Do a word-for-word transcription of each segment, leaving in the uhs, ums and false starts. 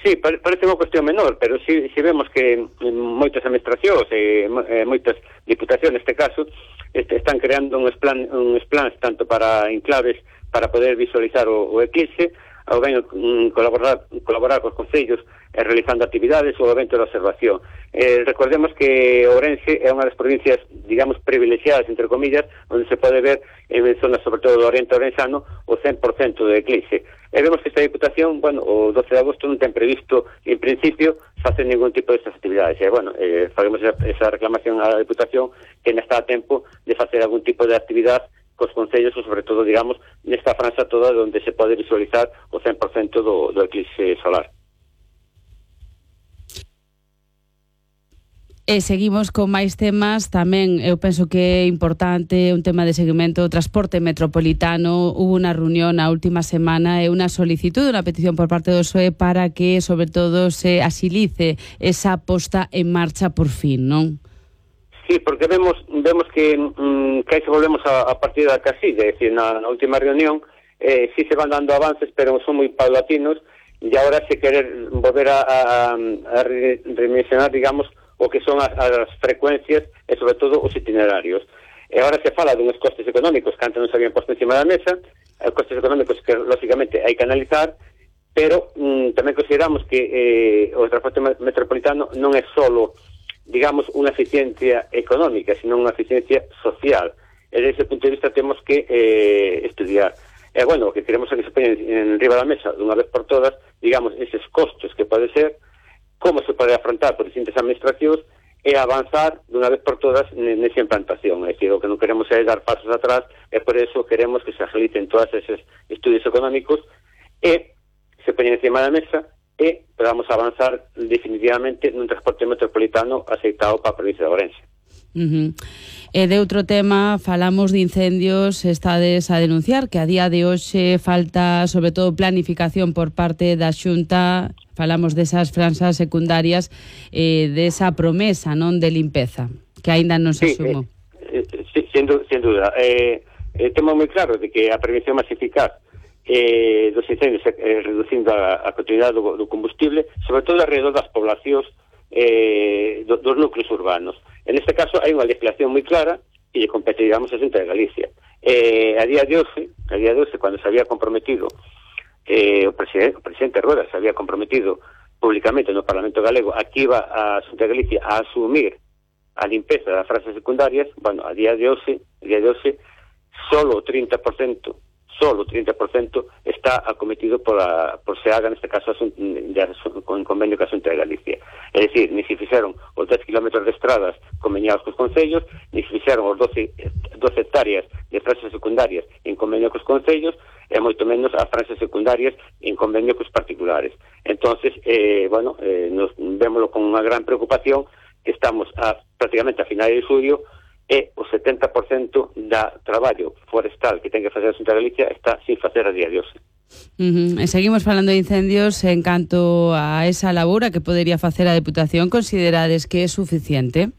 Sí, parece unha cuestión menor, pero si, si vemos que moitas administracións e eh, moitas diputacións neste caso este, están creando uns plan, uns plans tanto para enclaves para poder visualizar o, o eclipse, ou ben um, colaborar, colaborar cos concellos eh, realizando actividades ou evento de observación. Eh, recordemos que Ourense é unha das provincias, digamos, privilexiadas, entre comillas, onde se pode ver en zonas, sobre todo do oriente ourensano, o cen por cento do eclipse. E vemos que esta Diputación, bueno, o doce de agosto non ten previsto, en principio, facer ningún tipo de estas actividades. E, bueno, eh, faremos esa, esa reclamación á Diputación que non está a tempo de facer algún tipo de actividade cos concellos, ou sobre todo, digamos, nesta franja toda onde se pode visualizar o cen por cento do, do eclipse solar. E seguimos con máis temas. Tamén eu penso que é importante un tema de seguimento do transporte metropolitano. Hubo unha reunión a última semana e unha solicitud, unha petición por parte do P S O E para que, sobre todo, se axilice esa posta en marcha por fin, non? Sí, porque vemos vemos que, mm, que aí se volvemos a, a partir da casilla, é dicir, na, na última reunión eh, sí se van dando avances, pero son moi paulatinos, e agora se querer volver a, a, a redimensionar, digamos, o que son as, as frecuencias e, sobre todo, os itinerarios. E agora se fala dunhos costes económicos que antes non se habían posto encima da mesa, os costes económicos que, lógicamente, hai que analizar, pero mm, tamén consideramos que eh, o transporte metropolitano non é solo, digamos, unha eficiencia económica, sino unha eficiencia social. E desde ese punto de vista temos que eh, estudiar. E, bueno, o que queremos é que se poñen en riba da mesa, dunha vez por todas, digamos, eses costos que pode ser, como se pode afrontar por distintas administracións e avanzar dunha vez por todas nesa implantación. É dicir, o que non queremos é dar pasos atrás, e por eso queremos que se agilicen todos esos estudios económicos e se poñen encima da mesa e podamos avanzar definitivamente nun transporte metropolitano aceitado para a provincia de Ourense. Uh-huh. E de outro tema, falamos de incendios. Estades a denunciar que a día de hoxe falta, sobre todo, planificación por parte da Xunta. Falamos desas franxas secundarias, eh, desa promesa, non, de limpeza, que aínda non se sí, asumo. Eh, eh, sí, sin, sin duda. Eh, eh, temos moi claro de que a prevención máis eficaz eh, dos incendios eh, reducindo a, a continuidade do, do combustible, sobre todo alrededor das poblacións eh, do, dos núcleos urbanos. En este caso hai unha legislación moi clara e lle compete, digamos, a Xunta de Galicia. Eh, a día de hoxe, a día de hoxe, cando se había comprometido eh, o, presidente, o presidente Rueda se había comprometido públicamente no Parlamento Galego, aquí iba a Xunta de Galicia a asumir a limpeza das franxas secundarias. Bueno, a día de hoxe, a día de hoxe, solo o trinta por cento solo o trinta por cento está acometido por, a, por se haga, neste caso, con convenio ca Xunta de Galicia. É dicir, ni se fixeron os dez kilómetros de estradas conveniados cos concellos, ni se fixeron os doce hectáreas de franxas secundarias en convenio cos concellos, e moito menos as franxas secundarias en convenio cos particulares. Entonces, eh, bueno, eh, nos vémoslo con unha gran preocupación, que estamos a, prácticamente a finais de xullo, e o setenta por cento da traballo forestal que ten que facer a Xunta de Galicia está sin facer a día de hoxe. Uh-huh. E seguimos falando de incendios. En canto a esa labora que podería facer a Deputación, considerades que é suficiente?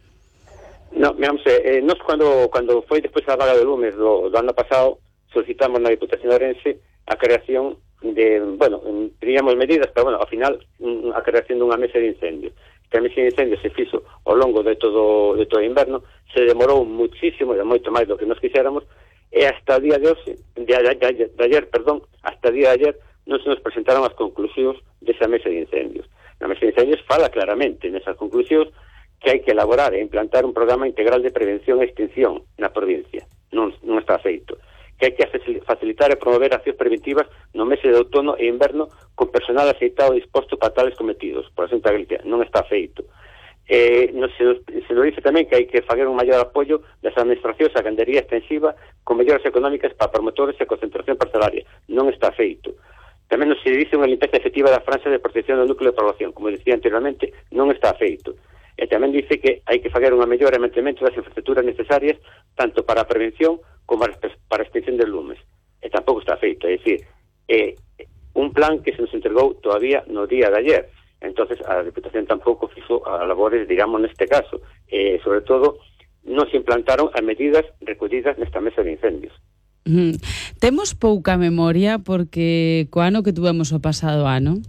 No, miramos, eh, nos cando, cando foi despois a vaga de lumes do, do ano pasado, solicitamos na Diputación de Ourense a creación de, bueno, teníamos medidas, pero bueno, ao final a creación dunha mesa de incendios. Que a mesa de incendios se fixo ao longo de todo de todo o inverno, se demorou muchísimo, de moito máis do que nos quixéramos, e hasta o día de hoxe, de, de, de, de ayer, perdón, hasta o día de ayer non se nos presentaron as conclusións desa mesa de incendios. Na mesa de incendios fala claramente nesas conclusións que hai que elaborar e implantar un programa integral de prevención e extinción na provincia. Non, non está feito. Que hai que facilitar e promover accións preventivas no mes de outono e inverno con personal aceitado e disposto para tales cometidos por a Xunta de Galicia. Non está feito. Eh, no, se, se nos dice tamén que hai que fazer un maior apoio das administracións a gandería extensiva con melloras económicas para promotores e concentración parcelaria. Non está feito. Tamén nos se dice unha limpeza efectiva da franxa de protección do núcleo de población. Como decía anteriormente, non está feito. E tamén dice que hai que fazer unha mellora e mantemento das infraestructuras necesarias tanto para a prevención como para a extinción de lumes. E tampouco está feito. É dicir, é un plan que se nos entregou todavía no día de ayer. Entonces a Deputación tampouco fixo a labores, digamos, neste caso. E, sobre todo, non se implantaron as medidas recollidas nesta mesa de incendios. Mm. Temos pouca memoria porque co ano que tuvemos o pasado ano,